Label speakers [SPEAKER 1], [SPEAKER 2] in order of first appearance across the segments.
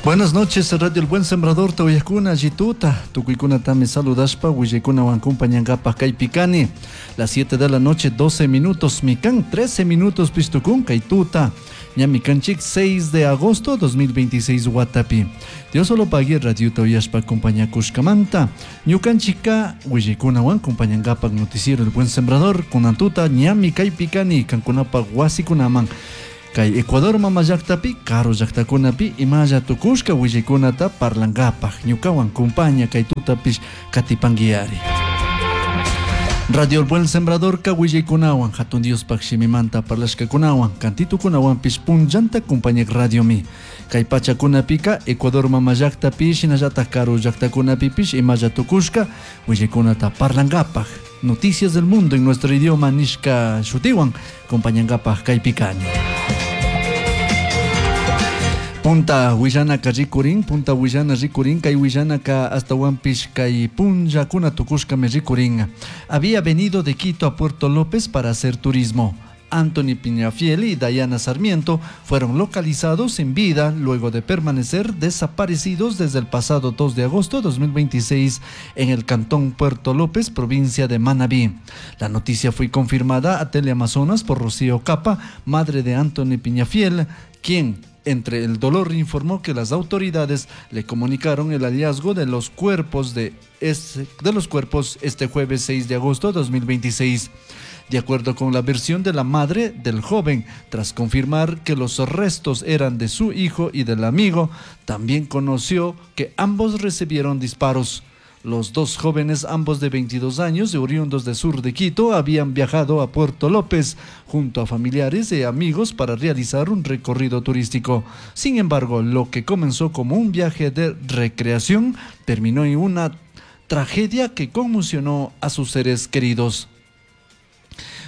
[SPEAKER 1] Buenas noches, Radio El Buen Sembrador, Tauyakuna, Jituta, Tukuykuna saludaspa, Willaykuna acompañangapaj kaypi Las 7 de la noche, 12 minutos, Mikan, 13 minutos, Pistukun, Kaituta, Ñami kanchik, 6 de agosto 2026, Watapi. Dios solo pague Radio Tauyaspa acompañakushkamanta. Ñukanchika, Willaykuna acompañangapaj noticiero El Buen Sembrador, Kunantuta, Ñami kaypikani, Kankunapa wasikunaman. Kay Ecuador mama llaqtapi karu llaqtakunapi imalla tukushka willaykunata parlankapaj ñukawan kumpaña kay tutapish katipanguiari. Radio El Buen Sembrador ka willaykunawan hatun Diospaj shimimanta parlashkakunawan kantitukunawanpish punllanta kumpañak radiomi. Kay pachakunapika Ecuador mama llaqtapi shinallataj karu llaqtakunapipish imalla tukushka willaykunata parlankapaj. Noticias del mundo en nuestro idioma nishka shutiwan compañangapaj kaypikani. Punta Huillanaka rikurin, Punta Huillana rikurin, kay Huillanaka hasta Huampish kay punllakuna tukushkami rikurin. Había venido de Quito a Puerto López para hacer turismo. Anthony Piñafiel y Dayana Sarmiento fueron localizados en vida luego de permanecer desaparecidos desde el pasado 2 de agosto de 2026 en el cantón Puerto López, provincia de Manabí. La noticia fue confirmada a Teleamazonas por Rocío Capa, madre de Anthony Piñafiel, quien entre el dolor informó que las autoridades le comunicaron el hallazgo de los cuerpos de los cuerpos este jueves 6 de agosto de 2026. De acuerdo con la versión de la madre del joven, tras confirmar que los restos eran de su hijo y del amigo, también conoció que ambos recibieron disparos. Los dos jóvenes, ambos de 22 años y oriundos de sur de Quito, habían viajado a Puerto López junto a familiares y amigos para realizar un recorrido turístico. Sin embargo, lo que comenzó como un viaje de recreación terminó en una tragedia que conmocionó a sus seres queridos.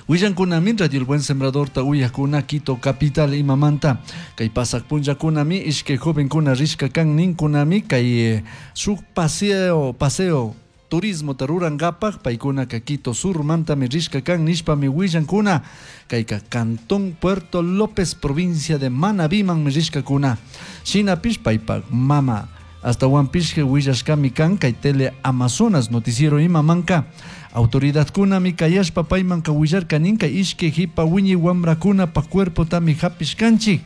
[SPEAKER 1] Willankunami Radio El Buen Sembrador ta uyakuna Quito capital imamanta kay pasak punllakunami ishkay jovenkuna rishka kan ninkunami kay shuk paseo turismo ta rurankapaj paykunaka Quito surmantami rishka kan nishpami willankuna kayka Cantón Puerto López provincia de Manabímanmi rishkakuna shinapish paypak mama hasta Huampishke willashkami kan kay Tele Amazonas noticiero imamanka autoridadkunami kayashpa paymanka willarkanin kay ishkay hipa wiñay wamrakunapa cuerpotami hapishkanchik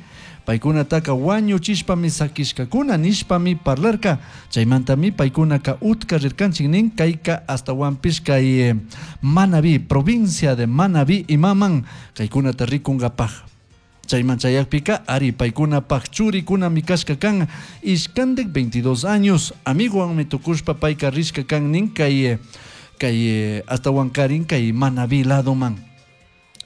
[SPEAKER 1] paykunataka wañuchishpami sakishkakuna nishpami parlarka chaymantami paykunaka utka rirkanchik nin kayka hasta Huampish kay Manabí provincia de Manabí imaman kaykunata rikunkapaj chayman chayakpika ari paykunapaj churikunami kashka kan ishkandik 22 años amigowanmi tukushpa payka rishka kan nin kay hasta Huancarin kay Manabí ladoman.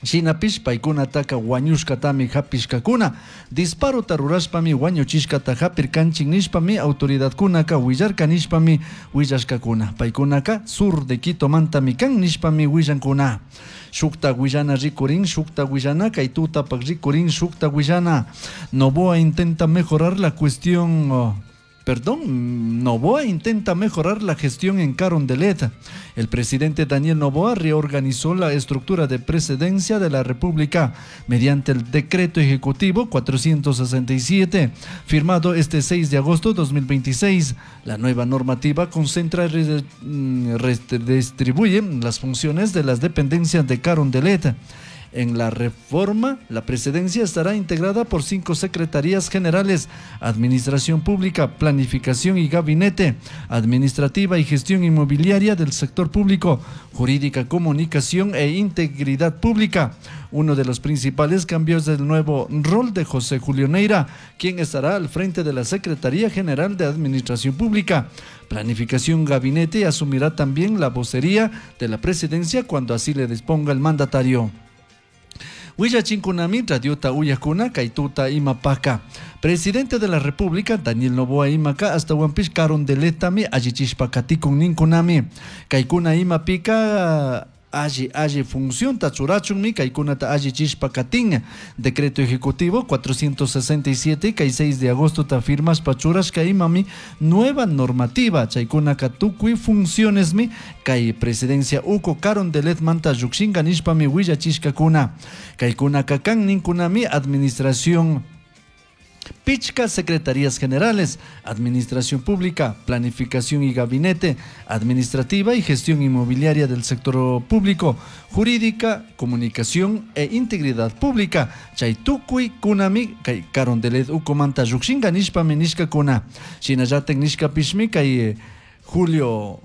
[SPEAKER 1] Shinapish paykunataka wañushkatami hapishkakuna disparota rurashpami wañuchishkata hapirkanchik nishpami autoridadkunaka willarka nishpami willashkakuna paykunaka sur de Quito mantami kan nishpami willankuna shukta willana rikurin shukta willana kay tutapak rikurin shukta willana Noboa intenta mejorar la cuestión Noboa intenta mejorar la gestión en Carondelet. El presidente Daniel Noboa reorganizó la estructura de presidencia de la República mediante el decreto ejecutivo 467, firmado este 6 de agosto de 2026. La nueva normativa concentra y redistribuye las funciones de las dependencias de Carondelet. En la reforma, la presidencia estará integrada por 5 secretarías generales: Administración Pública, Planificación y Gabinete, Administrativa y Gestión Inmobiliaria del Sector Público, Jurídica, Comunicación e Integridad Pública. Uno de los principales cambios del nuevo rol de José Julio Neira, quien estará al frente de la Secretaría General de Administración Pública, Planificación, Gabinete, y asumirá también la vocería de la presidencia cuando así le disponga el mandatario. Willachinkunami radiota uyakuna kaytuta imapaka. Presidente de la República, Daniel Noboa imaka, hasta Huampish Carondeletami allichishpa katikun ninkunami. Kaykuna imapika alli función tachurachunmi kaykunata allichishpa katin. Decreto Ejecutivo 467 kay 6 de agosto ta firmas pachurashka imami nueva normativa chaykunaka tukuy funcionesmi kay presidencia uko Carondelet manta llukshinka nishpami willachishkakuna. Kaykunaka kan ninkunami administración Pichca secretarías generales, Administración Pública, Planificación y Gabinete, Administrativa y Gestión Inmobiliaria del Sector Público, Jurídica, Comunicación e Integridad Pública, chay tukuy kunami kay Carondelet ukumanta llukshinga nishpami nishkakuna. Shinallatak nishkapishmi kay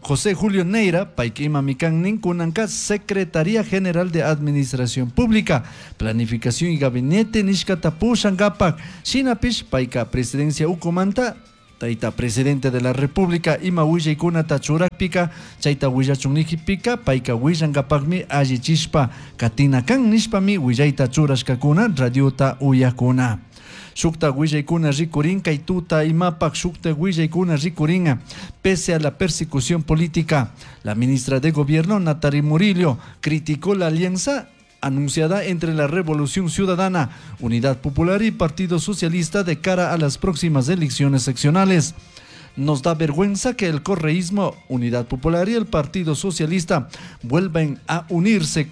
[SPEAKER 1] José Julio Neira, payka imami kan nin kunanka Secretaría General de Administración Pública, Planificación y Gabinete nishkata pushankapak, shinapish payka Presidencia ukumanta, tayta Presidente de la República ima willaykunata churakpika, chayta willachun nikipika, payka willankapakmi allichishpa katina kan nishpami willayta churashkakuna radiota uyakuna. Shukta willaykuna rikurin kay tuta imapak shukta willaykuna rikurin pese a la persecución política. La ministra de Gobierno, Natalie Murillo, criticó la alianza anunciada entre la Revolución Ciudadana, Unidad Popular y Partido Socialista de cara a las próximas elecciones seccionales. Nos da vergüenza que el correísmo, Unidad Popular y el Partido Socialista vuelvan a unirse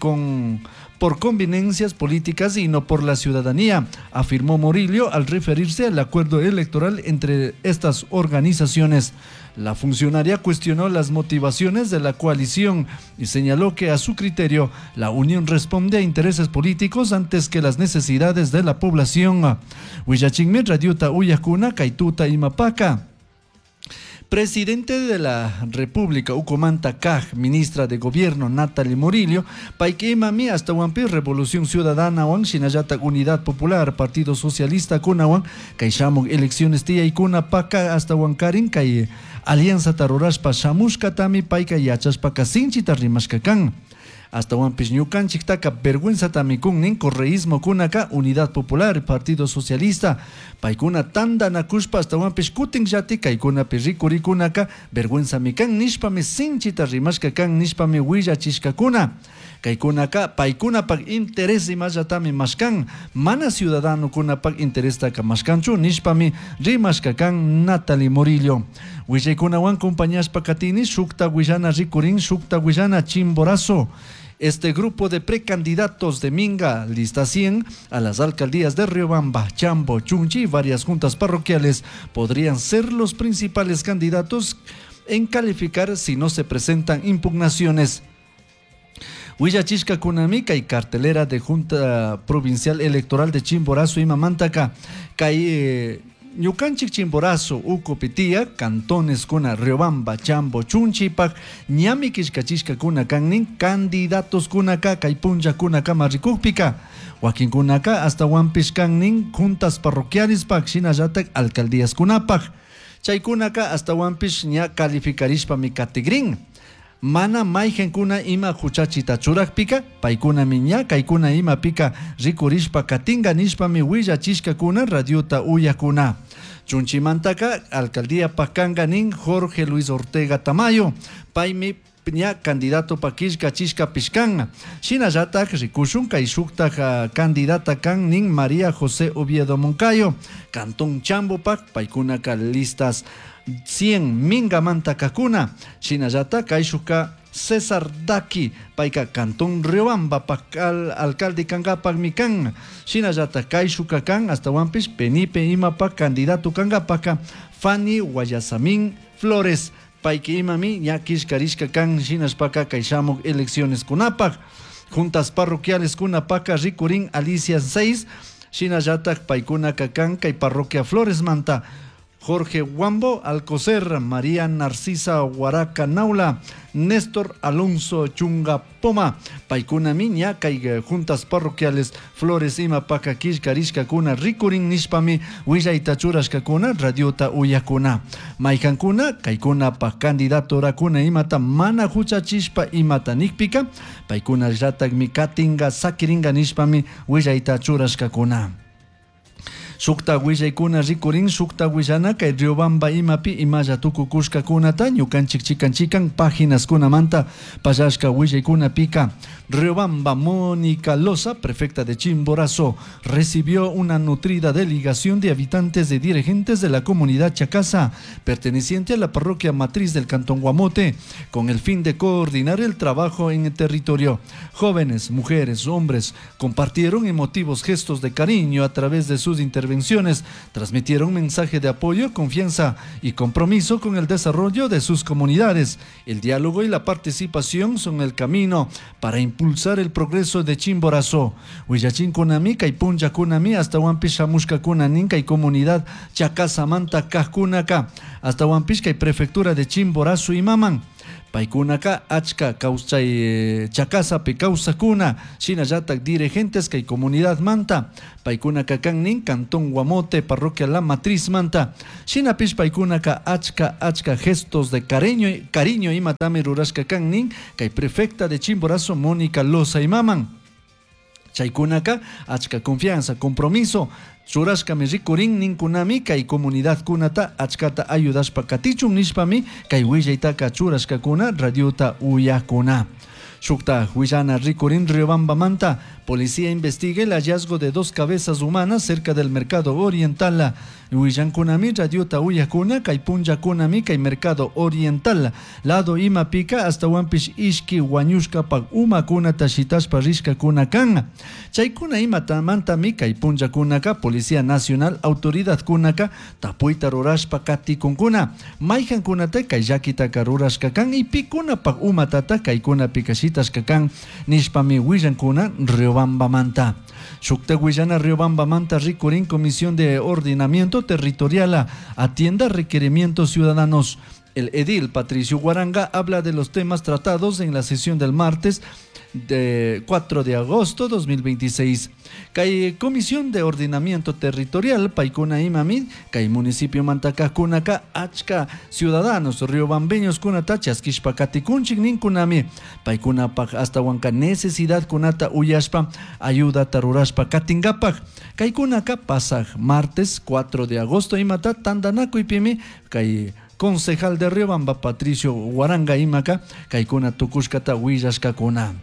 [SPEAKER 1] por conveniencias políticas y no por la ciudadanía, afirmó Murillo al referirse al acuerdo electoral entre estas organizaciones. La funcionaria cuestionó las motivaciones de la coalición y señaló que a su criterio la unión responde a intereses políticos antes que las necesidades de la población. Willachinmi radiota uyakuna kaytuta imapaka. Presidente de la República, Ucomanta Kaj, ministra de Gobierno, Natalie Murillo, payka imami ashtawanpi Revolución Ciudadana wan, shinallatak Unidad Popular, Partido Socialista kunawan, kay shamuk elecciones tiyaykuna paka ashtawankarin kay alianza rurashpa shamushkatami payka yachashpaka sinchita rimashka kan. Ashtawanpish ñukanchiktaka vergüenzatami kun nin correísmo kunaka Unidad Popular, Partido Socialista, paykuna tantanakushpa ashtawanpish kutinllati kaykunapi rikurikunaka vergüenzami kan nishpami sinchita rimashka kan nishpami willachishkakuna. Kaykunaka paykunapak interés imallatami mashkan, mana ciudadanokunapak interestaka mashkanchu nishpami rimashka kan Natalie Murillo. Willaykunawan compañashpa katini shukta willana rikurin shukta willana Chimborazo. Este grupo de precandidatos de Minga, lista 100, a las alcaldías de Riobamba, Chambo, Chunchi y varias juntas parroquiales podrían ser los principales candidatos en calificar si no se presentan impugnaciones. Willachishkakunami kay cartelera de Junta Provincial Electoral de Chimborazo imamantaka kay ñukanchik Chimborazo ukupi tiyak cantones kuna Riobamba, Chambo, Chunchipak ñami killkachishkakuna kan nin candidatos kunaka kay punllakunakama rikukpika wakinkunaka ashtawanpish kan nin juntas parroquialespak shinallatak alcaldías kunapak chaykunaka ashtawanpish ña calificarishpami katigrin. Mana mayqankuna ima huchachita churakpika paykunami ña kaykuna imapika rikurishpa katinga nishpami willachishkakuna radiota uyakuna. Chunchimantaka alcaldía kanka nin Jorge Luis Ortega Tamayo paymi ña candidato pa killkachishkapish kan. Shinallatak rikushun kay shuktak candidata kan nin María José Oviedo Moncayo Cantón Chambopak paykunaka listas 100 mingamanta kakuna. Shinallatak kayshuka César Daki payka Cantón Riobamba pak alcalde kankapakmi kan. Shinallatak kayshuka kan ashtawanpish Penipe imapak candidato kankapaka Fanny Guayasamín Flores payka imami ña killkarishka kan shinashpaka kay shamuk elecciones kunapak. Juntas parroquiales kunapaka rikurin Alicia 6 shinallatak paykunaka kan kay parroquia Flores manta Jorge Guambo Alcocer, María Narcisa Huaraca Naula, Néstor Alonso Chunga Poma, paykunami ña kay juntas parroquiales Flores imapaka killkarishkakuna rikurin nishpami willayta churashkakuna radiota uyakuna. Maykankuna kaykunapak candidatorakuna imata mana huchachishpa imata nikpika paykunallatakmi katinga sakiringa nishpami willayta churashkakuna. Shukta willaykuna rikurin shukta willana kay Riobamba imapi imalla tukukushkakunata ñukanchik chikan chikan páginas-kunamanta pallashka willaykunapika. Riobamba Mónica Loza, prefecta de Chimborazo, recibió una nutrida delegación de habitantes y dirigentes de la comunidad Chacasa, perteneciente a la parroquia matriz del Cantón Guamote, con el fin de coordinar el trabajo en el territorio. Jóvenes, mujeres, hombres compartieron emotivos gestos de cariño a través de sus intervenciones intervenciones transmitieron mensaje de apoyo, confianza y compromiso con el desarrollo de sus comunidades. El diálogo y la participación son el camino para impulsar el progreso de Chimborazo. Willachinkunami kay punllakunami ashtawanpish shamushkakuna nin kay comunidad Chacasamanta kajkunaka ashtawanpish kay prefectura de Chimborazo imaman. Paykunaka achka kawsay Chacasapi kawsakuna shinallatak dirigentes kay comunidad manta paykunaka kan nin cantón Guamote parroquia La Matriz manta shinapish paykunaka achka achka gestos de cariño cariño imatami rurashka kan nin kay prefecta de Chimborazo Mónica Loza imaman. Chaykunaka achka confianza, compromiso churashkami rikurin ninkunami kay comunidad kunata achkata ayudashpa katichun nishpami kay willaytaka churashkakuna radiota uyakuna. Shukta huillana rikurin Riobamba manta, policía investiga el hallazgo de 2 cabezas humanas cerca del mercado oriental. Huillankunami radiota uyakuna kay punllakunami kay mercado oriental. Lado imapika hasta wanpish ishki wañushkapak umakunata shitashpa rishkakuna kan. Chaykuna imatamantami kay punllakunaka Policía Nacional autoridad kunaka tapuyta rurashpa katikunkuna. Mayhankunata kay llakitaka rurashka kan y pikunapak umatata kaykunapika shitashka kan nishpami willankuna Riobamba manta. Shukta willana Riobamba manta rikurin Comisión de Ordenamiento Territorial atienda requerimientos ciudadanos. El edil Patricio Guaranga habla de los temas tratados en la sesión del martes de 4 de agosto 2026. Kay Comisión de Ordenamiento Territorial, Paikuna Imamid, kay Municipio Mantaka Kunaka, achka ciudadanos riobambeños kunata chaskishpa katikunchik ninkunami, paikuna pak hasta wanka necesidad kunata uyashpa, ayuda tarurashpa katingapak. Kay kunaka pasaj martes 4 de agosto imata tandanakuipimi, kay concejal de Riobamba Patricio Guaranga imaka, kaykuna tukushkata willashkakuna.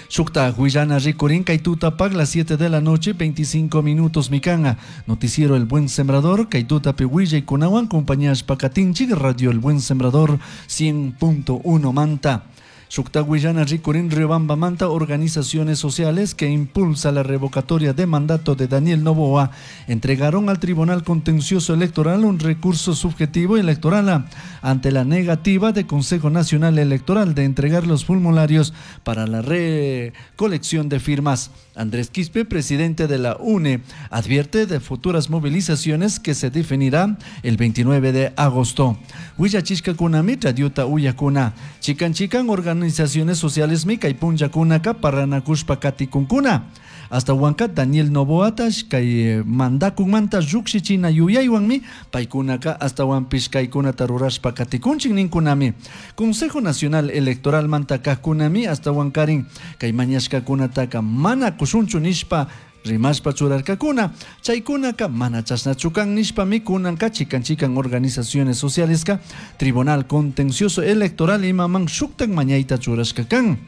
[SPEAKER 1] Shukta Huillana rikurin kaytutapak las 7 de la noche 25 minutos mikanga. Noticiero El Buen Sembrador, kaytutapi willaykunawan compañías pakatinchik, Radio El Buen Sembrador 100.1 Manta. Shukta Huillana rikurin Riobamba Manta, organizaciones sociales que impulsa la revocatoria de mandato de Daniel Noboa entregaron al Tribunal Contencioso Electoral un recurso subjetivo electoral ante la negativa del Consejo Nacional Electoral de entregar los formularios para la recolección de firmas. Andrés Quispe, presidente de la UNE, advierte de futuras movilizaciones que se definirán el 29 de agosto. Huillachishka kunami, radiota uyakuna. Chican chican organizaciones sociales mica y punyakunaka paranakushpa katikunkuna. Hasta Huanca Daniel Noboa kay mandakun manta llukshichina yuyaywanmi paykunaka hasta wanpish kaykunata rurashpa katikunchik ninkunami. Consejo Nacional Electoral manta kajkunami hasta wankarin kay mañashkakunataka mana kushunchu nishpa rimashpa churarkakuna. Chaykunaka mana chashnachu kan nishpami kunanka chikan chikan organizaciones socialeska Tribunal Contencioso Electoral imaman shuktak mañayta churashka kan.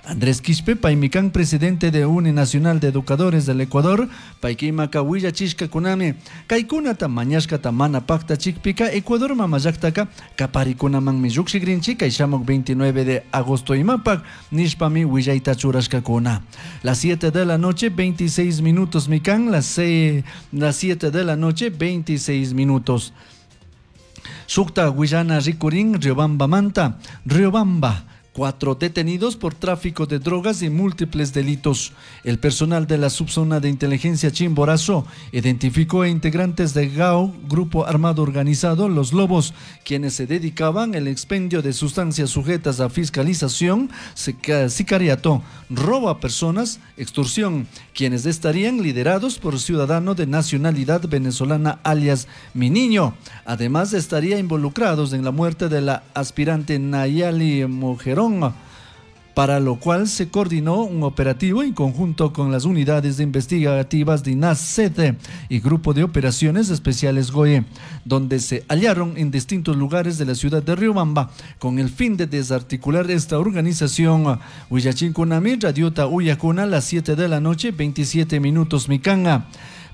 [SPEAKER 1] Andrés Quispe, paymicán, presidente de UNE Nacional de Educadores del Ecuador, paykimaka willachishka kunami, kaykunata mañashkata mana pakta chikpika, Ecuador mamallaktaka, kaparikunamanmi llukshikrinchik, kay shamuk 29 de agosto imapak, nishpami willayta churashkakuna. Las 7 de la noche, 26 minutos mikan, las 7 de la noche, 26 minutos. Shukta Huillana rikurin, Riobamba manta, Riobamba. 4 detenidos por tráfico de drogas y múltiples delitos. El personal de la subzona de inteligencia Chimborazo identificó a integrantes de GAO, Grupo Armado Organizado, Los Lobos, quienes se dedicaban al expendio de sustancias sujetas a fiscalización, sicariato, robo a personas, extorsión, quienes estarían liderados por ciudadano de nacionalidad venezolana alias Mi Niño. Además, estaría involucrados en la muerte de la aspirante Nayali Mojerón, para lo cual se coordinó un operativo en conjunto con las unidades investigativas de INACET y Grupo de Operaciones Especiales GOE, donde se hallaron en distintos lugares de la ciudad de Riobamba con el fin de desarticular esta organización. Huillachinkunami, Radiota Uyacuna, las 7 de la noche, 27 minutos, Micanga.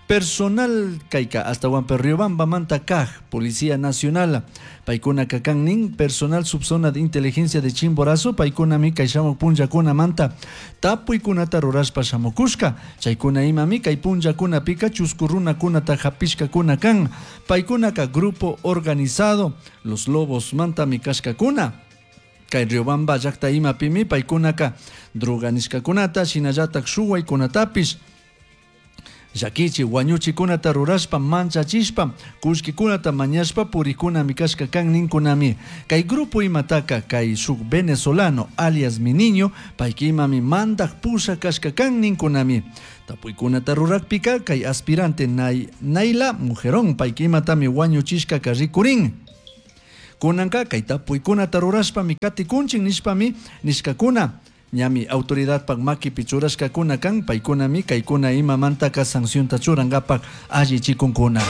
[SPEAKER 1] Personal kayka ashtawanpi Riobambamanta kaj Policía Nacional paykunaka kan nin personal subzona de inteligencia de Chimborazo paykunami kay shamuk punllakunamanta tapuykunata rurashpa shamukushka. Chaykuna imami kay punllakunapika chusku runakunata hapishkakuna kan. Paykunaka grupo organizado Los Lobos mantami kashkakuna. Kay Riobamba llakta imapimi paykunaka droga nishkakunata shinallatak shuwaykunatapish llakichi wañuchikunata rurashpa manchachishpa kullkikunata mañashpa purikunami kashka kan ninkunami. Kay grupo imataka kay shuk venezolano alias mi niño payka imami mandak pusha kashka kan ninkunami. Tapuykunata rurakpika kay aspirante Naila Mujerón payka imatami wañuchishkaka rikurin. Kunanka kay tapuykunata rurashpami katikunchik nishpami nishkakuna. Ñami autoridadpak makipi churashkakuna kan paykunami kaykuna imamantaka sancionta churankapak allichikunkuna.